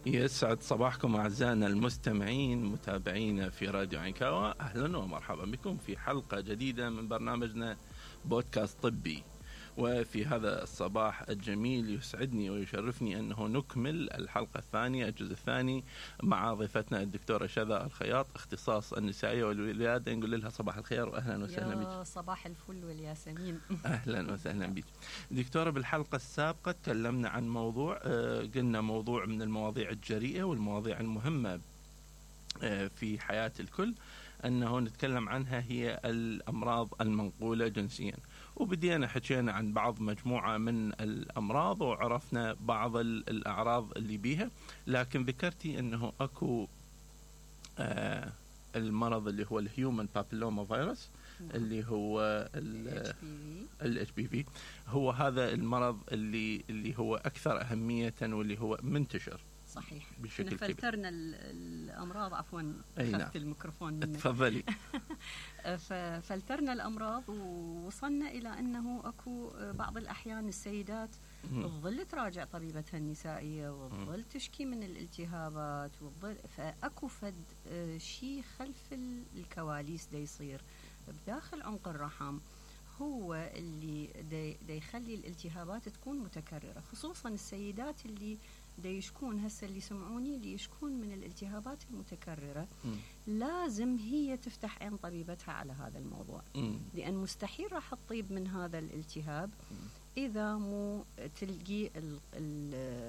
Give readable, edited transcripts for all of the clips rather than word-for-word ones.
يسعد صباحكم أعزائنا المستمعين متابعينا في راديو عكاوة. أهلا ومرحبا بكم في حلقة جديدة من برنامجنا بودكاست طبي. وفي هذا الصباح الجميل يسعدني ويشرفني أنه نكمل الحلقة الثانية الجزء الثاني مع ضيفتنا الدكتورة شذا الخياط، اختصاص النسائية والولادة. نقول لها صباح الخير وأهلا وسهلا بك. صباح الفل والياسمين. أهلا وسهلا بك دكتورة. بالحلقة السابقة تكلمنا عن موضوع قلنا موضوع من المواضيع الجريئة والمواضيع المهمة في حياة الكل أنه نتكلم عنها هي الأمراض المنقولة جنسيا، وبدينا حكينا عن بعض مجموعة من الأمراض وعرفنا بعض الأعراض اللي بيها، لكن ذكرتي أنه أكو المرض اللي هو الهيومن بابيلوما فيروس اللي هو ال HPV. هو هذا المرض اللي هو أكثر أهمية واللي هو منتشر. صحيح. بشكل فلترنا الأمراض، عفوا أخذت الميكروفون منك. تفضلي. فلترنا الأمراض ووصلنا إلى أنه أكو بعض الأحيان السيدات تظل تراجع طبيبتها النسائية وتظل تشكي من الالتهابات فأكو فد شيء خلف الكواليس دا يصير بداخل عنق الرحم، هو اللي دا يخلي الالتهابات تكون متكررة، خصوصا السيدات اللي دا يشكون هسه اللي سمعوني اللي يشكون من الالتهابات المتكررة. لازم هي تفتح عين طبيبتها على هذا الموضوع، لأن مستحيل راح تطيب من هذا الالتهاب إذا مو تلقي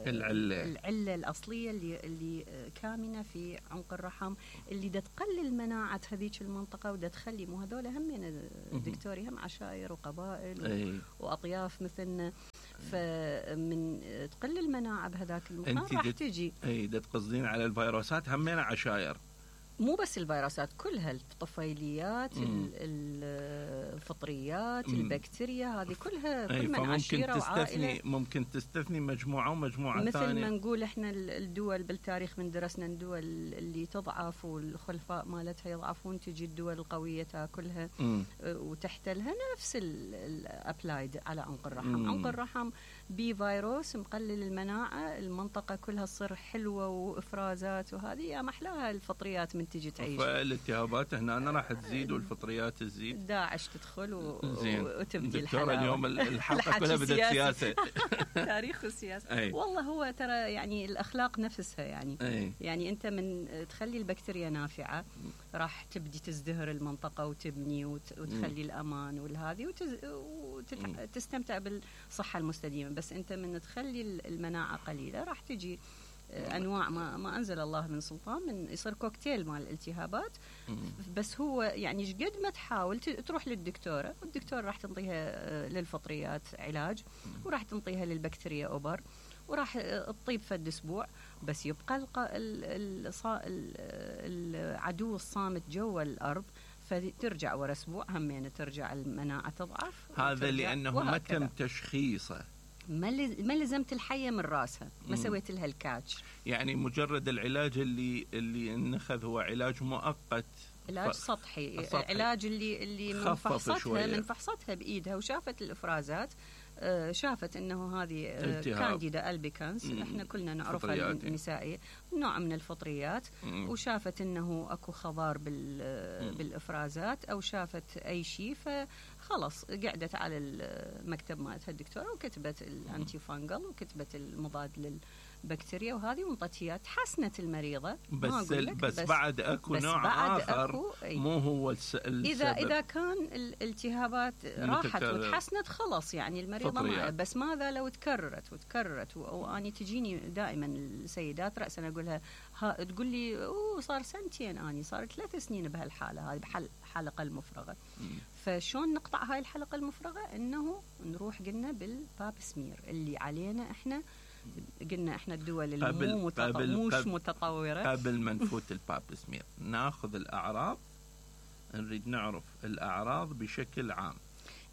العلة الأصلية اللي كامنة في عنق الرحم اللي دا تقلل مناعة هذيك المنطقة ودا تخلي مو هذول هم دكتوري هم عشائر وقبائل وأطياف مثلنا، فمن تقل المناعة بهذاك المكان راح تجي. دا تقصدين على الفيروسات همين عشائر، مو بس الفيروسات كلها، الطفيليات الفطريات البكتيريا هذه كلها كل من عشيرة وعائلة. ممكن تستثني مجموعة ومجموعة ثانية. مثل ما نقول احنا الدول بالتاريخ من درسنا الدول اللي تضعف والخلفاء مالتها يضعفون، تجي الدول القوية تاكلها وتحتلها. نفس الابلايد على عنق الرحم. عنق الرحم بفيروس مقلل المناعة، المنطقة كلها تصير حلوة وإفرازات، وهذه يا محلاها الفطريات من تجي تعيش. فالالتهابات هنا راح تزيد والفطريات تزيد، داعش تدخل وتبدي الحلقة. اليوم الحلقة كلها بدأت سياسة. تاريخ والسياسة. والله هو ترى يعني الأخلاق نفسها يعني أنت من تخلي البكتيريا نافعة راح تبدي تزدهر المنطقة وتبني وتخلي الأمان والهذه وتستمتع بالصحة المستديمة. بس أنت من تخلي المناعة قليلة راح تجي أنواع ما أنزل الله من سلطان، من يصير كوكتيل مال الالتهابات. بس هو يعني قد ما تحاول تروح للدكتورة، والدكتورة راح تنطيها للفطريات علاج وراح تنطيها للبكتيريا أوبر وراح تطيب فد أسبوع، بس يبقى العدو الصامت جوا الأرض، فترجع ورا أسبوع همين ترجع المناعة تضعف. هذا لأنه ما تم تشخيصه، ما لزمت الحية من راسها، ما سويت لها الكاتش. يعني مجرد العلاج اللي نخذ هو علاج مؤقت، علاج سطحي. علاج اللي من فحصتها بإيدها وشافت الإفرازات، شافت انه هذه كانديدا ألبيكانس، احنا كلنا نعرفها النسائية، نوع من الفطريات، وشافت انه اكو خضار بالافرازات او شافت اي شيء، فخلص قعدت على المكتب مالتها الدكتورة وكتبت الانتي فانجل وكتبت المضاد للبكتيريا وهذه وانطتها، تحسنت المريضة. بس بعد اكو نوع اخر مو هو السبب. اذا كان الالتهابات راحت وتحسنت خلاص يعني المريضة بس ماذا لو تكررت واني تجيني دائما السيدات رأسا اقولها تقول لي صار سنتين، اني صار 3 سنين بهالحالة هذه بحلقة المفرغة. فشون نقطع هاي الحلقة المفرغة؟ انه نروح قلنا بالباب سمير اللي علينا احنا، قلنا احنا الدول اللي مش متطورة. قبل ما نفوت الباب سمير ناخذ الأعراض، نريد نعرف الأعراض بشكل عام.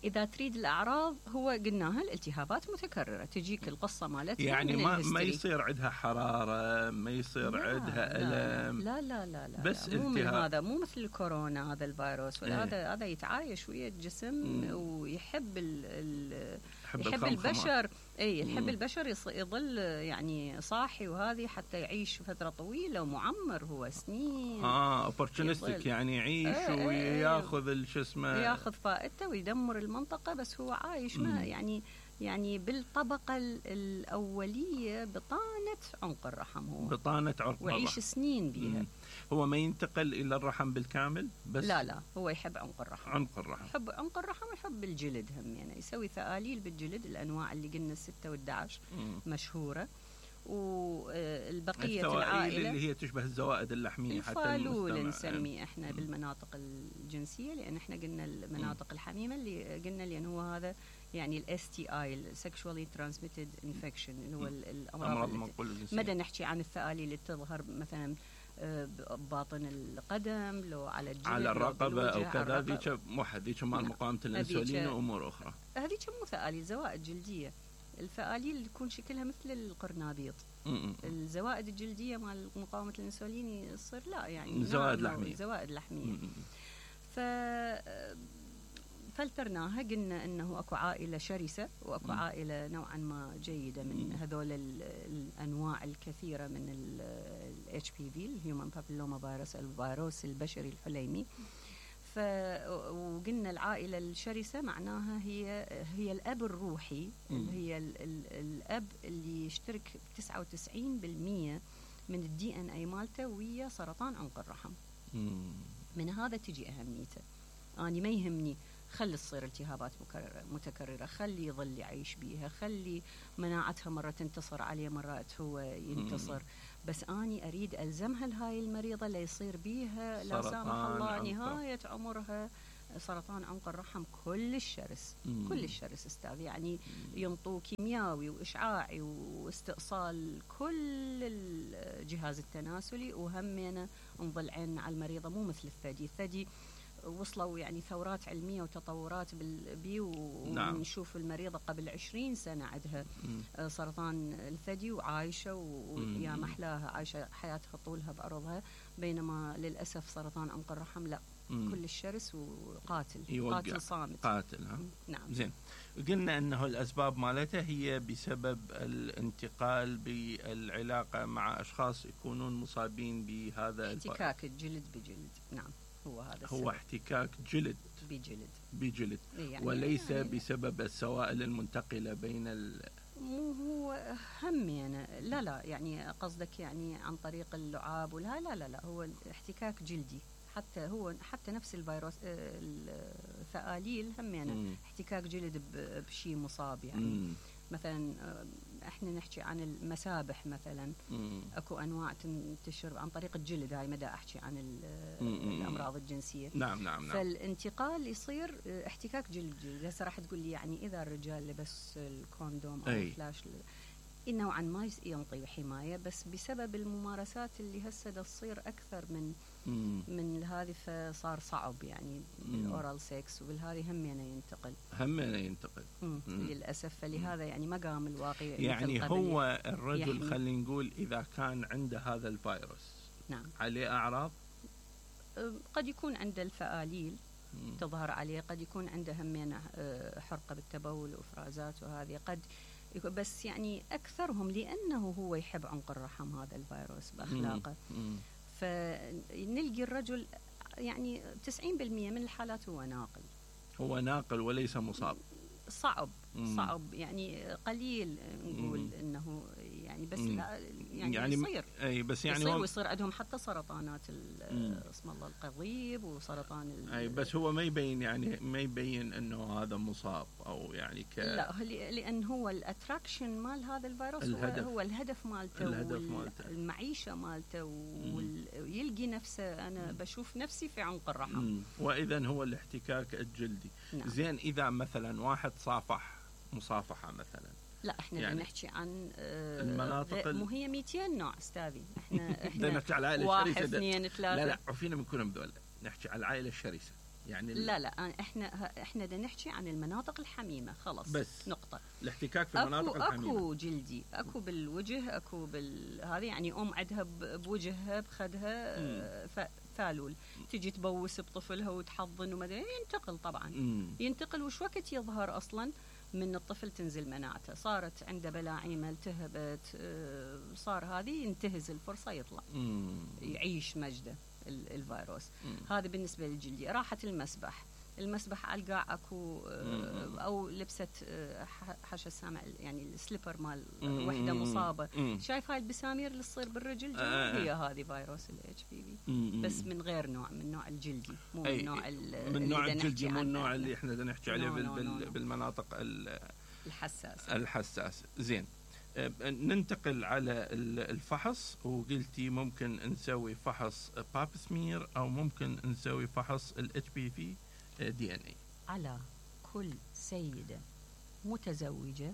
إذا تريد الأعراض هو قلناها الالتهابات متكررة، تجيك القصة مالتها يعني ما يصير عندها حرارة، ما يصير عندها ألم. لا بس مو من هذا، مو مثل الكورونا هذا الفيروس ولا هذا يتعايش ويا الجسم ويحب يحب البشر. اي الحب البشر يظل يعني صاحي وهذه حتى يعيش فتره طويله ومعمر هو سنين. اوبورتونستيك يعني يعيش وياخذ شو اسمه، ياخذ فائدته ويدمر المنطقه، بس هو عايش ما يعني بالطبقه الاوليه بطانه عنق الرحم، هو بطانه عنق ويعيش سنين بيها. هو ما ينتقل الى الرحم بالكامل بس؟ لا هو يحب عنق الرحم. عنق الرحم، يحب عنق الرحم ويحب الجلد هم، يعني يسوي ثآليل بالجلد، الانواع اللي قلنا 6 و11 مشهوره، والبقيه العائله اللي هي تشبه الزوائد اللحميه حتى الفالول نسميه احنا بالمناطق الجنسيه، لان احنا قلنا المناطق الحميمه اللي قلنا لان هو هذا يعني الاس تي اي sexually transmitted infection اللي هو الامراض المنقوله الجنسيه. مدى نحكي عن الثآليل اللي تظهر مثلا باطن القدم، لو على الجلد، على الرقبه او كذا، ذيك ذيك مال مقاومه الانسولين وامور اخرى. هذيك مو ثآليل، زوائد جلديه. الثآليل تكون شكلها مثل القرنابيط. الزوائد الجلديه مال مقاومه الانسولين يصير لا يعني زوائد لحميه. فلترناها، قلنا انه اكو عائله شرسه واكو عائله نوعا ما جيده من هذول الانواع الكثيره من الاتش بي في، الهيومن بابيلوما فيروس، الفيروس البشري الحليمي. وقلنا العائله الشرسه معناها هي الاب الروحي، اللي هي الاب اللي يشترك 99% من الدي ان اي مالته ويا سرطان عنق الرحم. من هذا تجي اهميته. اني ما يهمني خلي تصير التهابات متكررة، خلي يظل يعيش بيها، خلي مناعتها مرة تنتصر عليه مرات هو ينتصر، بس أني أريد ألزمها لهاي المريضة ليصير بيها لا سامح الله نهاية عمرها سرطان عنق الرحم كلش شرس. كلش شرس أستاذ، يعني ينطوا كيمياوي وإشعاعي واستئصال كل الجهاز التناسلي، وهمنا نظل عين على المريضة مو مثل الثدي وصلوا يعني ثورات علمية وتطورات ونشوف المريضة قبل 20 سنة عندها سرطان الثدي وعايشة ويا محلاها عايشة حياتها طولها بعرضها، بينما للأسف سرطان عنق الرحم لا، كل الشرس وقاتل، قاتل صامت. قاتل نعم. زين، قلنا أنه الأسباب مالتها هي بسبب الانتقال بالعلاقة مع أشخاص يكونون مصابين بهذا احتكاك الجلد بجلد. نعم، هو احتكاك جلد بجلد يعني وليس يعني بسبب السوائل المنتقلة بين مو هو هم يعني لا يعني قصدك يعني عن طريق اللعاب لا هو احتكاك جلدي. حتى نفس الفيروس الثآليل هم يعني احتكاك جلد بشيء مصاب يعني. مثلا احنا نحكي عن المسابح مثلا، اكو انواع تنتشر عن طريق الجلد، هاي مدى احكي عن الامراض الجنسيه. نعم. فالانتقال يصير احتكاك جلد. هسه راح تقول لي يعني اذا الرجال لبس الكوندوم او الفلاش نوعا ما ينطي حمايه، بس بسبب الممارسات اللي هسه تصير اكثر من هذه، فصار صعب يعني الاورال سكس، وبالهذه همينه ينتقل للاسف. فلهذا يعني مقام الواقع يعني هو الرجل خلينا نقول اذا كان عنده هذا الفيروس نعم عليه اعراض، قد يكون عنده الفآليل تظهر عليه، قد يكون عنده همينه حرقه بالتبول وافرازات، وهذه قد بس يعني أكثرهم لأنه هو يحب عنق الرحم هذا الفيروس بأخلاقه. فنلقي الرجل يعني 90% من الحالات هو ناقل وليس مصاب. صعب يعني قليل نقول انه يعني بس لا يعني يصير اي بس يعني يصير ويصير عندهم حتى سرطانات اسم الله القضيب وسرطان اي بس هو ما يبين انه هذا مصاب او يعني لا، لان هو الاتراكشن مال هذا الفيروس هو الهدف مالته والمعيشه مالته ويلقي نفسه. انا بشوف نفسي في عنق الرحم. واذا هو الاحتكاك الجلدي. نعم. زين، اذا مثلا واحد صافح مصافحه مثلا، لا احنا يعني نحكي عن المناطق مو هي 200 نوع استاذي. احنا نحكي على العائله الشرسه 1 2 3 لا عفينا من كلهم ذول، نحكي على العائله الشرسه يعني لا احنا بدنا نحكي عن المناطق الحميمه خلص بس نقطه. الاحتكاك في المناطق الحميمه اكو جلدي، اكو بالوجه، اكو هذه يعني عندها بوجهها بخدها فالول، تجي تبوس بطفلها وتحضن وما ينتقل طبعا. ينتقل وش وقت يظهر اصلا من الطفل تنزل مناعته، صارت عنده بلاعيمه، التهبت، صار هذه ينتهز الفرصه يطلع يعيش مجده الفيروس. هذا بالنسبه للجلدي. راحت المسبح على القاع اكو او لبست حاشا السامع يعني السليبر مال وحده مصابه، شايف هاي البسامير اللي تصير بالرجل هي هذه فيروس الاتش بي في، بس من غير نوع، من نوع الجلدي، مو من نوع من نوع الجلدي، مو النوع اللي احنا بدنا نحكي عليه بالمناطق الحساسه. زين، ننتقل على الفحص. وقلتي ممكن نسوي فحص باب سمير او ممكن نسوي فحص الاتش بي في دي ان اي على كل سيده متزوجه،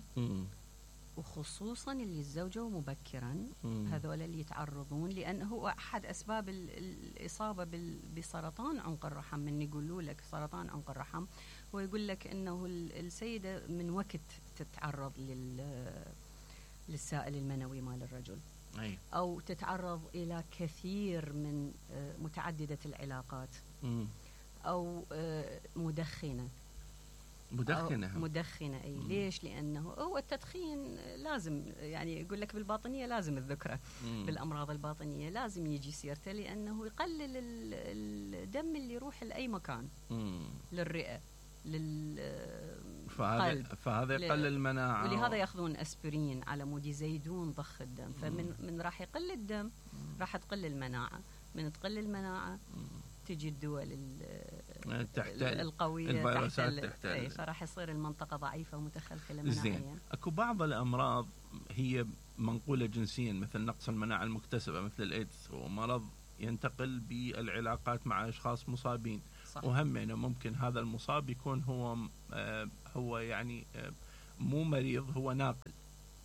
وخصوصا اللي تزوجوا مبكرا، هذول اللي يتعرضون، لانه احد اسباب الاصابه بسرطان عنق الرحم. من يقولوا لك سرطان عنق الرحم، ويقول لك انه السيده من وقت تتعرض للسائل المنوي مال الرجل، او تتعرض الى كثير من متعدده العلاقات، او مدخنه اي. ليش؟ لانه هو التدخين لازم، يعني يقول لك بالباطنيه لازم الذكره بالامراض الباطنيه لازم يجي سيرته، لانه يقلل الدم اللي يروح لاي مكان، للرئه، فهذا يقلل المناعه، ولهذا ياخذون اسبرين على مود يزيدون ضخ الدم. فمن راح يقل الدم راح تقل المناعه، من تقل المناعه تجي الدول القويه الفيروسات تحت فراح يصير المنطقه ضعيفه ومتخلخله مناعيا. زين، اكو بعض الامراض هي منقوله جنسيا، مثل نقص المناعه المكتسبه مثل الايدز، ومرض ينتقل بالعلاقات مع اشخاص مصابين. صح. وهم يعني ممكن هذا المصاب يكون هو يعني مو مريض، هو ناقل،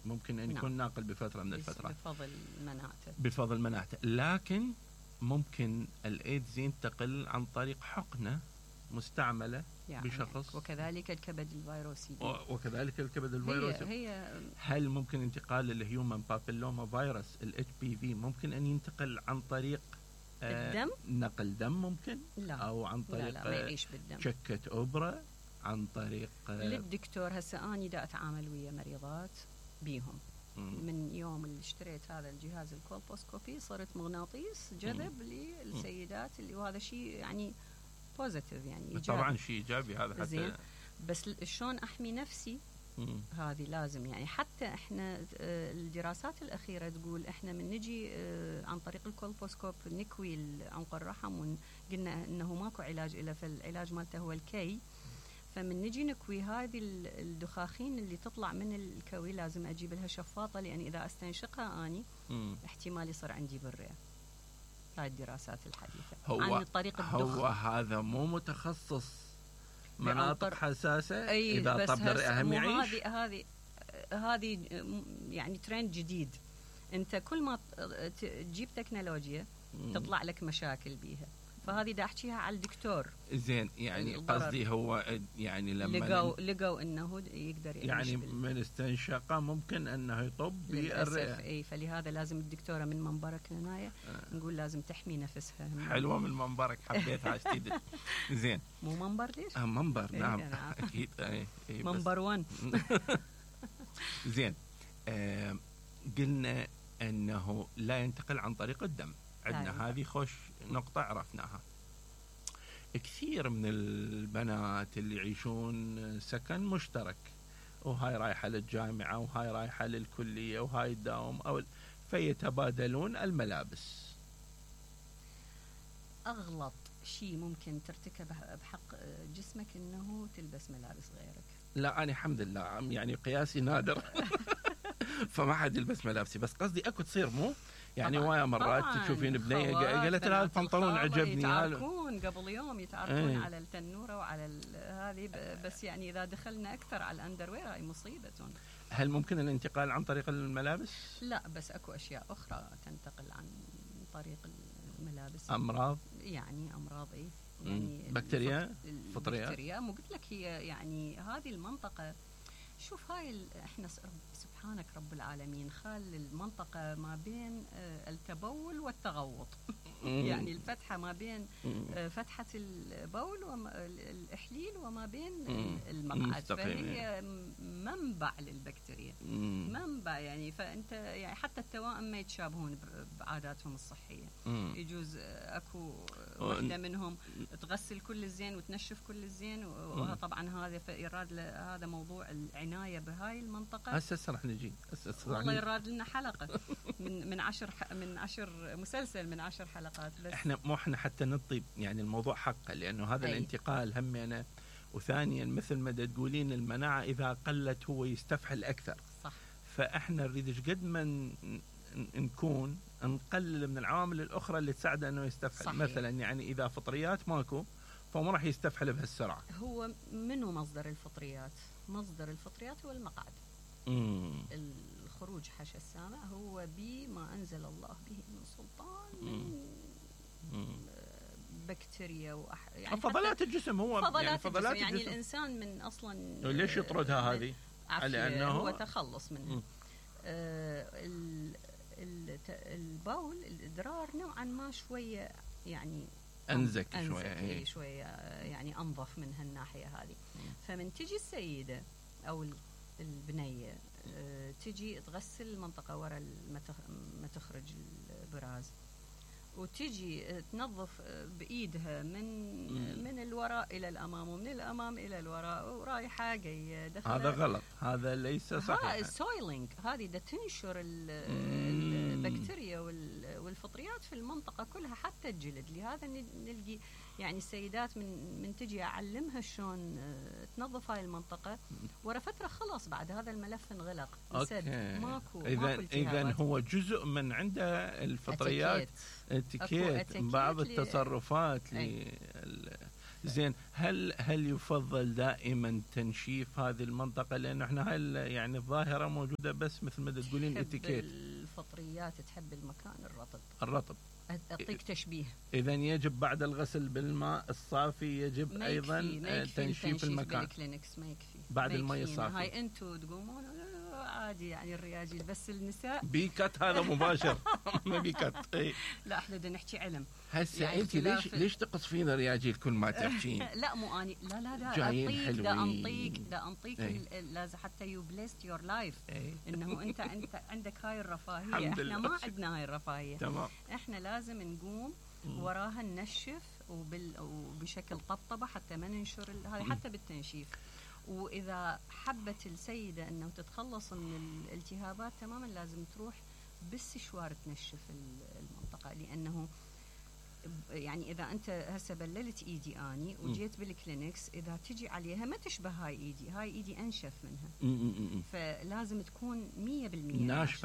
ممكن ان يكون ناقل بفتره من الفترات بفضل مناعته. لكن ممكن الايدز ينتقل عن طريق حقنه مستعمله يعني بشخص، وكذلك الكبد الفيروسي. هل ممكن انتقال الهيومن بابيلوما فيروس الاتش بي في ممكن ان ينتقل عن طريق الدم؟ نقل دم ممكن؟ لا. او عن طريق لا ما يعيش بالدم، شكة أوبرا، عن طريق للدكتور. هسه اني دا اتعامل ويا مريضات بيهم من يوم اللي اشتريت هذا الجهاز الكولبوسكوبي، صرت مغناطيس جذب للسيدات اللي، وهذا شيء يعني بوزيتيف، يعني إيجابي. طبعا شيء ايجابي هذا حتى زين. بس شلون احمي نفسي؟ هذه لازم، يعني حتى احنا الدراسات الاخيره تقول احنا من نجي عن طريق الكولبوسكوب نكوي عنق الرحم، وقلنا انه ماكو علاج له، فالعلاج مالته هو الكي. فمن نجي نكوي هذه الدخاخين اللي تطلع من الكوي لازم اجيب لها شفاطه، لان اذا استنشقها اني احتمال يصير عندي بالرئه. هاي الدراسات الحديثه عن طريق الدخ. هو هذا مو متخصص مناطق حساسه؟ اذا طب الرئه هم يعيش. هذه يعني ترند جديد. انت كل ما تجيب تكنولوجيا تطلع لك مشاكل بيها، فهذه دا احكيها على الدكتور. زين، يعني قصدي هو يعني لما لقوا انه يقدر يعيش يعني من استنشاقه ممكن انه يطب بالرئه. اي، فلهذا لازم الدكتوره من منبرك هنا نقول لازم تحمي نفسها. حلوه من منبرك، حبيتها جديد. زين، مو منبر ليش؟ منبر نعم اكيد. منبر 1. زين، قلنا انه لا ينتقل عن طريق الدم، عندنا هذه خوش نقطة عرفناها. كثير من البنات اللي يعيشون سكن مشترك، وهاي رايحة للجامعة وهاي رايحة للكلية وهاي تداوم، فيتبادلون الملابس. أغلط شيء ممكن ترتكبه بحق جسمك إنه تلبس ملابس غيرك. لا، أنا الحمد لله يعني قياسي نادر. فما حد يلبس ملابسي، بس قصدي أكو تصير مو يعني وايا مرات تشوفين بنيه قالت لها البنطلون عجبني، يتعاركون قبل يوم يتعاركون على التنوره وعلى هذه، بس يعني اذا دخلنا اكثر على الاندروير هاي مصيبه. هل ممكن الانتقال عن طريق الملابس؟ لا، بس اكو اشياء اخرى تنتقل عن طريق الملابس. امراض ايه يعني بكتيريا فطريه. مو قلت لك هي يعني هذه المنطقه. شوف هاي احنا سبحان سبحانك رب العالمين خال المنطقة ما بين التبول والتغوط. يعني الفتحة ما بين فتحة البول والإحليل وما بين المقعد، فهي منبع للبكتيريا، منبع يعني. فأنت يعني حتى التوائم ما يتشابهون بعاداتهم الصحية. يجوز أكو واحدة منهم تغسل كل الزين وتنشف كل الزين، وطبعا هذا يراد هذا موضوع العناية بهاي المنطقة. هسه راح نجي والله يراد لنا حلقة من 10 مسلسل من 10 حلقات. بس احنا حتى نطيب يعني الموضوع حقه، لأنه هذا الانتقال همنا. وثانيا مثل ما تقولين المناعة إذا قلت هو يستفحل أكثر. صح. فإحنا نريد قد ما نكون نقلل من العوامل الأخرى اللي تساعده أنه يستفحل. صحيح. مثلا يعني إذا فطريات ماكو فهو ما راح يستفحل بهالسرعة. هو منو مصدر الفطريات؟ مصدر الفطريات هو المقعد. الخروج حاشا السامع هو بما أنزل الله به من سلطان من بكتيريا يعني فضلات الجسم. هو فضلات الجسم يعني الإنسان من أصلا ليش يطردها هذه؟ لأنه هو تخلص منها. البول الإدرار نوعا ما شوية يعني أنزك شوية يعني أنظف من هالناحية هذه. فمن تجي السيدة أو البنية تجي تغسل المنطقة وراء ما تخرج البراز، وتجي تنظف بإيدها من الوراء إلى الأمام ومن الأمام إلى الوراء ورايحة جاية دخلة. هذا غلط، هذا ليس صحيح. السويلينج هذه ده تنشر البكتيريا والفطريات في المنطقة كلها حتى الجلد. لهذا نلقي يعني السيدات من تجي أعلمها شلون تنظف هاي المنطقة، ورا فترة خلاص بعد هذا الملف انغلق انسد، ماكو إذن هو جزء من عنده الفطريات اتيكيت بعض التصرفات زين. هل يفضل دائما تنشيف هذه المنطقة؟ لأن احنا هاي يعني الظاهرة موجودة بس مثل ما تقولين اتيكيت. الفطريات تحب المكان الرطب. أعطيك تشبيه. إذن يجب بعد الغسل بالماء الصافي يجب أيضا تنشيف المكان. بالكلينكس ما يكفي بعد الماء الصافي. هاي أنتوا تقومون عادي يعني الرياجيل، بس النساء بيكت هذا مباشر. ما بيكت. لا احنا بدنا نحكي علم. هسه يعني انت ليش تقصفين الرياجيل كل ما تحكين؟ لا مو اني لا جايين دا انطيك لازم حتى يو بليست يور لايف انه انت عندك هاي الرفاهيه. احنا ما عندنا هاي الرفاهيه. تمام. احنا لازم نقوم وراها ننشف وبشكل طبطبه حتى ما ننشر هذا حتى بالتنشيف. وإذا حبت السيدة أنه تتخلص من الالتهابات تماما لازم تروح بالسشوار تنشف المنطقة. لأنه يعني إذا أنت هسه بللت إيدي أني وجيت بالكلينكس إذا تجي عليها ما تشبه هاي إيدي أنشف منها. فلازم تكون 100%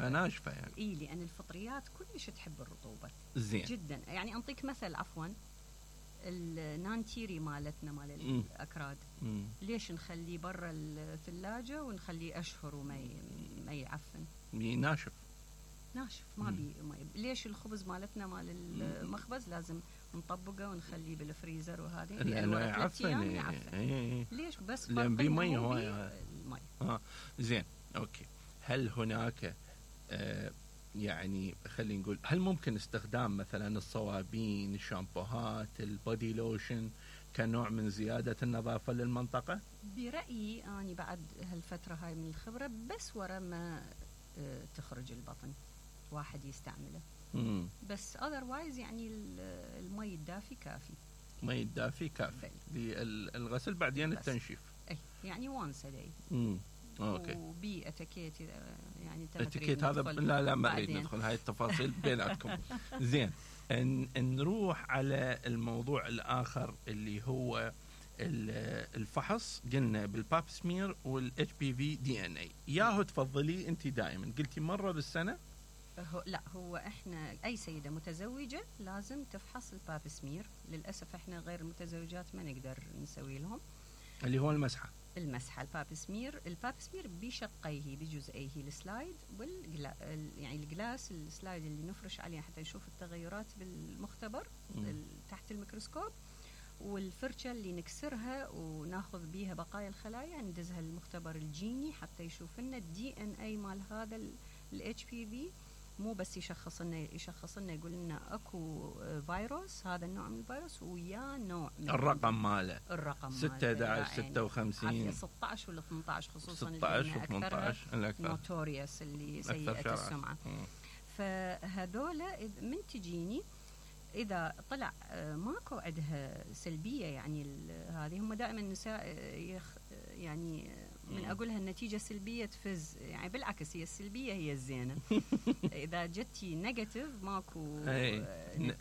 ناشفة يعني. لأن الفطريات كلش تحب الرطوبة. زين. جدا. يعني أنطيك مثل عفوا النانتيري مالتنا مال الأكراد ليش نخليه برا الثلاجة ونخليه أشهر وما يعفن؟ ناشف ما بي ليش الخبز مالتنا مال المخبز لازم نطبقه ونخليه بالفريزر وهذه لأنه يعفن. ليش؟ بس لأن بمي هواي المي. زين أوكي. هل هناك يعني خلينا نقول هل ممكن استخدام مثلا الصوابين، الشامبوهات، البودي لوشن كنوع من زيادة النظافة للمنطقة؟ برأيي أنا بعد هالفترة هاي من الخبرة بس ورا ما تخرج البطن واحد يستعمله. بس otherwise يعني المي الدافي كافي. مي الدافي كافي للغسل بعدين التنشيف. يعني once a day. اوكي. وبي اتيكيت يعني اتيكيت هذا لا ما نريد ندخل هاي التفاصيل بيناتكم. زين. نروح على الموضوع الآخر اللي هو الفحص. قلنا بالباب سمير والاتش بي في دي ان اي. ياهو تفضلي انت دائما قلتي مرة بالسنة؟ لا هو احنا اي سيدة متزوجة لازم تفحص الباب سمير. للأسف احنا غير المتزوجات ما نقدر نسوي لهم اللي هو المسحة الباب سمير بشقيه بجزئيه السلايد يعني الجلاس السلايد اللي نفرش عليه حتى نشوف التغيرات بالمختبر تحت الميكروسكوب، والفرشة اللي نكسرها وناخذ بيها بقايا الخلايا ندزها للمختبر الجيني حتى يشوف لنا الDNA مال هذا الHPV. مو بس يشخص لنا يقول لنا اكو فيروس، هذا النوع من الفيروس ويا نوع من الرقم ماله 6 11 56 16 ولا 18 خصوصا 16 و 18 الاكثر نوتوريوس اللي سيئة السمعة. فهذول من تجيني إذا طلع ماكو عندها سلبية، يعني هذه هم دائما النساء يعني من أقولها النتيجة سلبية تفز، يعني بالعكس هي السلبية هي الزينة. إذا جتي نيجاتيف ماكو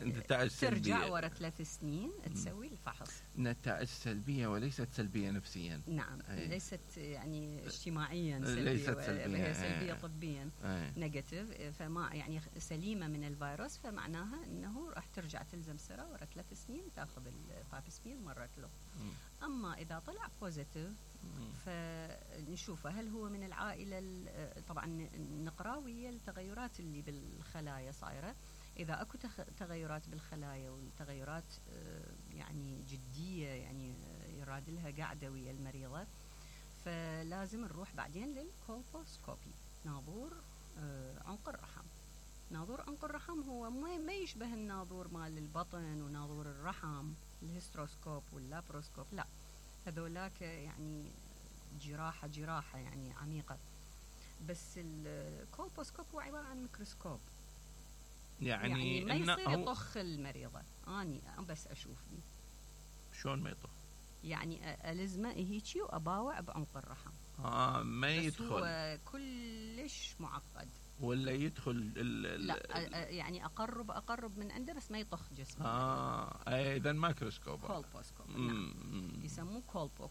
نتائج سلبية، ترجع ورا 3 سنين تسوي الفحص. نتائج سلبية وليست سلبية نفسيا. نعم ليست يعني اجتماعيا سلبية، ليست سلبية، هي سلبية طبيا نيجاتيف، فما يعني سليمة من الفيروس، فمعناها أنه راح ترجع تلزم سرة ورا 3 سنين تاخذ الباب سمير مرة له. أما إذا طلع بوزيتيف فنشوفه هل هو من العائلة، طبعا نقراوية التغيرات اللي بالخلايا صايرة. إذا أكو تغيرات بالخلايا والتغيرات يعني جدية، يعني يراد لها قاعدة ويا المريضة، فلازم نروح بعدين للكولبوسكوبي، ناظور عنق الرحم. ناظور عنق الرحم هو ما يشبه الناظور مال البطن وناظور الرحم الهستروسكوب واللابروسكوب، لا هذولاك يعني جراحة يعني عميقة. بس الكولبوسكوب هو عبارة عن ميكروسكوب، يعني ما يصير يطخ المريضة، أني بس أشوف دي شلون ما يطخ، يعني ألزمه هيجي وأباوع بعمق الرحم. ما يدخل، هو كلش معقد. ولا يدخل لا يعني أقرب من عنده بس ما يطخ جسمه. إذا مايكروسكوب كولبوسكوب. نعم. يسموه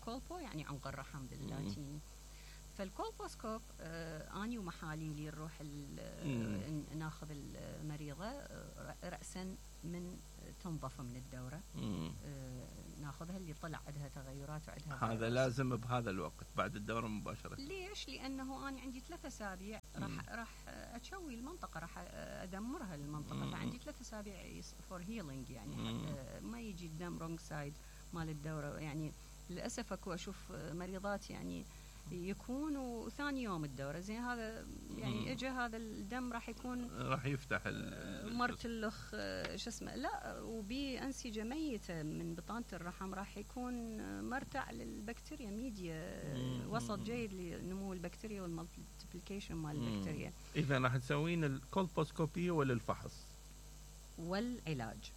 كولبو يعني عنق الرحم باللاتيني. فالكولبوسكوب أني ومحاليلي نروح ناخذ المريضة رأسا من تنظف من الدورة، ناخذها اللي طلع عندها تغيرات وعندها هذا لازم بهذا الوقت بعد الدورة مباشرة. ليش؟ لأنه أنا عندي 3 أسابيع راح أشوي المنطقة، راح أدمرها المنطقة، فعندي 3 أسابيع فور هيلينج، يعني ما يجي الدم رونج سايد مال الدورة. يعني للأسف أكو أشوف مريضات يعني يكونوا ثاني يوم الدورة زين، هذا يعني اجى هذا الدم راح يكون راح يفتح مرتلخ شو اسمه، لا وبي أنسجة ميتة من بطانة الرحم، راح يكون مرتع للبكتيريا ميديا، وسط جيد لنمو البكتيريا والمالتيبليكيشن مال البكتيريا. إذا راح تسوين الكولبوسكوبية ولا الفحص والعلاج؟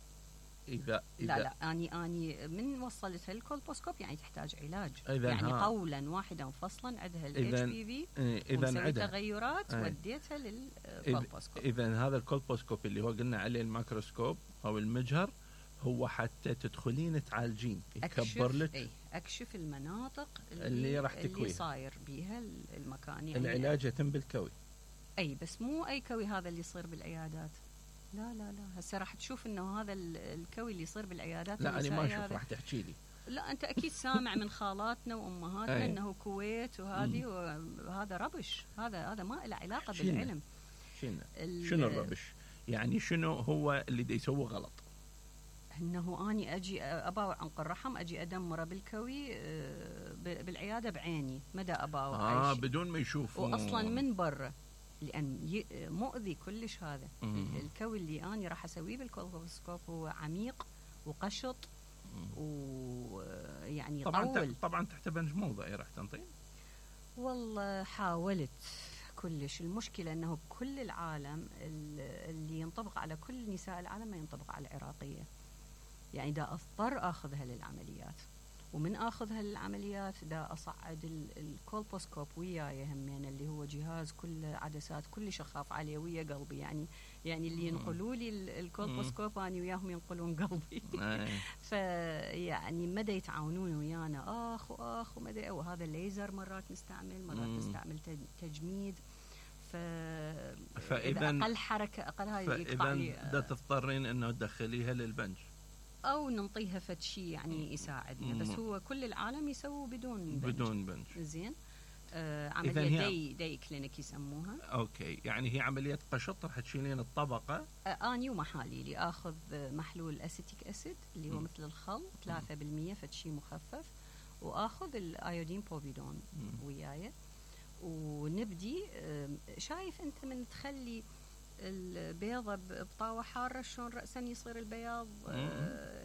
إذا لا أني من وصلتها الكولبوسكوب يعني تحتاج علاج، يعني قولا واحدا فصلا عندها الHPV ومسوي تغيرات وديتها للكولبوسكوب. إذا هذا الكولبوسكوب اللي هو قلنا عليه الميكروسكوب أو المجهر هو حتى تدخلين تعالجين، يكبر لك أكشف المناطق اللي راح تكويها، اللي صاير بيها المكان. يعني العلاج يتم بالكوي، بس مو أي كوي هذا اللي يصير بالعيادات، لا هسه راح تشوف انه هذا الكوي اللي يصير بالعيادات. لا انا ما اشوف، راح تحكي لي. لا انت اكيد سامع من خالاتنا وامهاتنا انه كويت وهذه وهذا ربش، هذا ما له علاقه بالعلم. شنو الربش؟ يعني شنو هو اللي دا يسوي غلط؟ انه اني اجي اباوع عنق الرحم، اجي ادمره بالكوي بالعياده بعيني، مدى اباوع بدون ما يشوفوا، واصلا من برا، لأن مؤذي كلش هذا. الكوي اللي أنا راح أسويه بالكولبوسكوب هو عميق وقشط ويعني طبعا تحت بنج موضعي راح تنطين. والله حاولت كلش، المشكلة أنه بكل العالم اللي ينطبق على كل نساء العالم ما ينطبق على العراقية، يعني دا أضطر أخذها للعمليات، ومن أخذها للعمليات دا أصعد الكولبوسكوب وياي همين، اللي هو جهاز كل عدسات كل شخاف عليه ويا قلبي، يعني اللي ينقلوا لي الكولبوسكوب أنا وياهم ينقلون قلبي. فيعني مدى يتعاونون ويانا أخ ومدى، وهذا الليزر مرات نستعمل تجميد، فإذا أقل حركة أقل هاي يقطع لي، فإذا تضطرين إنه تدخليها للبنج أو ننطيها فد شيء يعني يساعدنا. بس هو كل العالم يسووا بدون بنج. زين. عملية دي كلينيك يسموها. اوكي، يعني هي عملية قشط، راح تشيلين الطبقة. اني ومحاليلي اخذ محلول اسيتيك اسيد اللي هو مثل الخل 3% فشي مخفف، واخذ الايودين بوفيدون وياي، ونبدي. شايف انت من تخلي البيضة بطاوة حارة شلون رأسا يصير البياض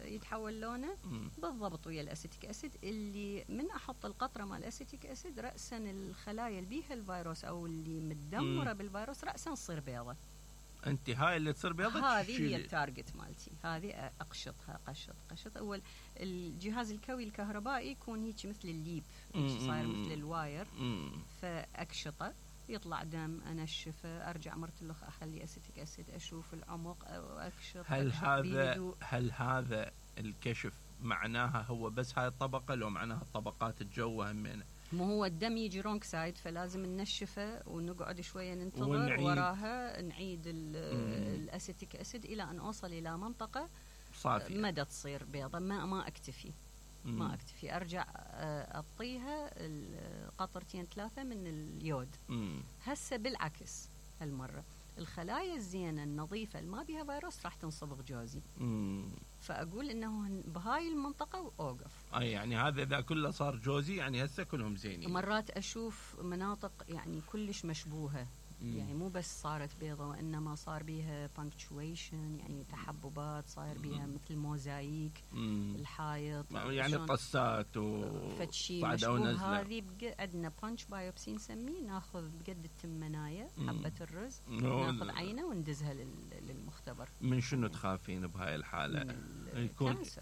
يتحول لونه بالضبط ويا الاسيتيك اسيد، اللي من احط القطرة مال الاسيتيك اسيد رأسا الخلايا اللي بيها الفيروس او اللي متدمرة بالفيروس رأسا تصير بيضة. انت هاي اللي تصير بيضة، هذه هي التارجت مالتي، هذه اقشطها قشط. اول الجهاز الكوي الكهربائي يكون هيك مثل الليب، صاير مثل الواير، فاقشطه يطلع دم، انشفه، ارجع مرتلخ اخلي اسيتيك اسيد، اشوف العمق واكشط. هل هذا الكشف معناها هو بس هاي الطبقة، لو معناها الطبقات الجوة همينة؟ مو هو الدم يجي رونج سايد، فلازم ننشفه ونقعد شويه ننتظر، وراها نعيد الاسيتيك اسيد الى ان اوصل الى منطقه صافيه مدى تصير بيضه. ما اكتفي ارجع اعطيها قطرتين 3 من اليود. هسه بالعكس هالمره الخلايا الزينه النظيفه اللي ما بها فيروس راح تنصبغ جوزي. فاقول انه بهاي المنطقه اوقف. يعني هذا اذا كله صار جوزي، يعني هسه كلهم زينين. مرات اشوف مناطق يعني كلش مشبوهه، يعني مو بس صارت بيضة وإنما صار بيها punctuation، يعني تحببات، صاير بيها مثل موزايك الحائط، يعني طسات وفتشي مشبوه. هذه عندنا punch biopsy نسميه، ناخذ بقد التمناية حبة الرز، ناخذ عينة وندزها للمختبر. من شنو تخافين بهاي الحالة؟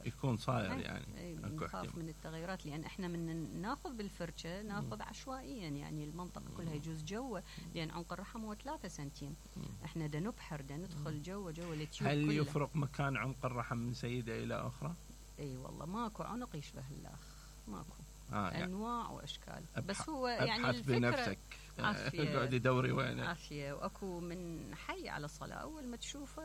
يكون صاير يعني نخاف من التغيرات، لأن احنا من ناخذ بالفرشة ناخذ عشوائيا، يعني المنطقة كلها يجوز جوا، لأن عنق الرحم هو 3 سنتيم، احنا دا نبحر دا ندخل جوا التيوب. هل يفرق مكان عنق الرحم من سيدة إلى أخرى؟ اي والله ماكو عنق يشبه الآخ، ماكو. يعني أنواع وأشكال، بس هو يعني الفكرة بنفسك، اقعدي دوري وينه. عافية، واكو من حي على الصلاة أول ما تشوفه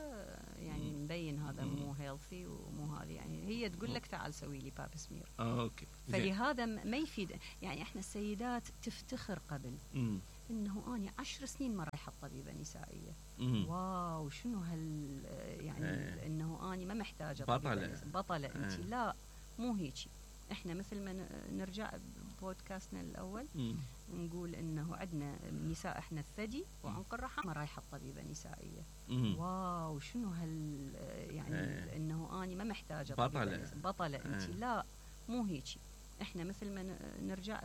يعني مبين هذا مو هيلثي ومو هذا، يعني هي تقول لك تعال سوي لي باب سمير. اوكي. فلهذا ما يفيد، يعني احنا السيدات تفتخر قبل انه اني 10 سنين ما رايحه طبيبه نسائيه. واو شنو يعني انه اني ما محتاجه بطله انت. لا مو هيجي، احنا مثل ما نرجع بودكاستنا الاول نقول انه عندنا نساء احنا الثدي وعنق الرحم ما رايحه طبيبه نسائيه. واو شنو يعني انه اني ما محتاجه بطله انت. لا مو هيجي، احنا مثل ما نرجع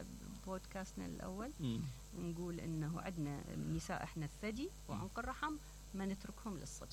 بودكاستنا الاول نقول انه عندنا نساء احنا الثدي وعنق الرحم ما نتركهم للصدفه.